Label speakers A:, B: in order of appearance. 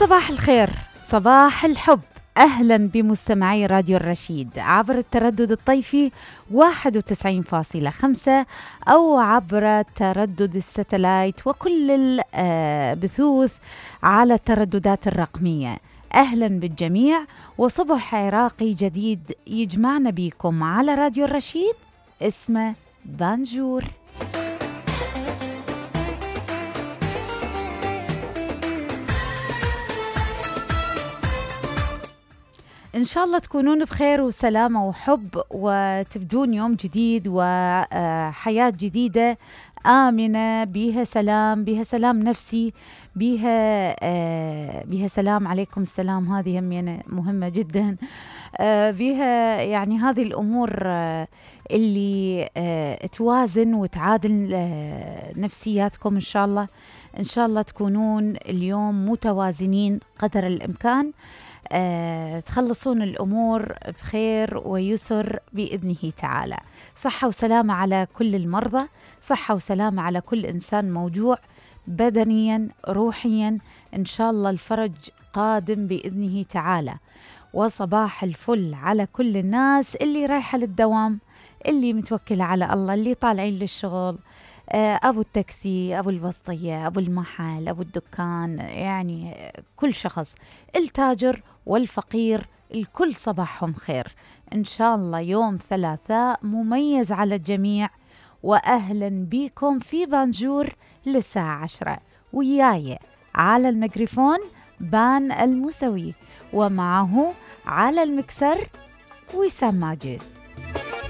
A: صباح الخير، صباح الحب. أهلا بمستمعي راديو الرشيد عبر التردد الطيفي 91.5 أو عبر تردد الستلايت وكل البثوث على الترددات الرقمية. أهلا بالجميع وصبح عراقي جديد يجمعنا بيكم على راديو الرشيد اسمه بانجور. إن شاء الله تكونون بخير وسلامة وحب وتبدون يوم جديد وحياة جديدة آمنة بيها سلام، بيها سلام نفسي، بيها سلام عليكم السلام، هذه مهمة جدا. بيها يعني هذه الأمور اللي توازن وتعادل نفسياتكم. إن شاء الله تكونون اليوم متوازنين قدر الإمكان، تخلصون الأمور بخير ويسر بإذنه تعالى. صحة وسلامة على كل المرضى، صحة وسلامة على كل إنسان موجوع بدنيا روحيا، إن شاء الله الفرج قادم بإذنه تعالى. وصباح الفل على كل الناس اللي رايحة للدوام، اللي متوكلة على الله، اللي طالعين للشغل، أبو التاكسي، أبو البسطية، أبو المحل، أبو الدكان، يعني كل شخص، التاجر والفقير، الكل صباحهم خير. إن شاء الله يوم ثلاثاء مميز على الجميع، وأهلا بكم في بانجور للساعة 10. وياي على الميكروفون بان الموسوي، ومعه على المكسر وسام ماجد.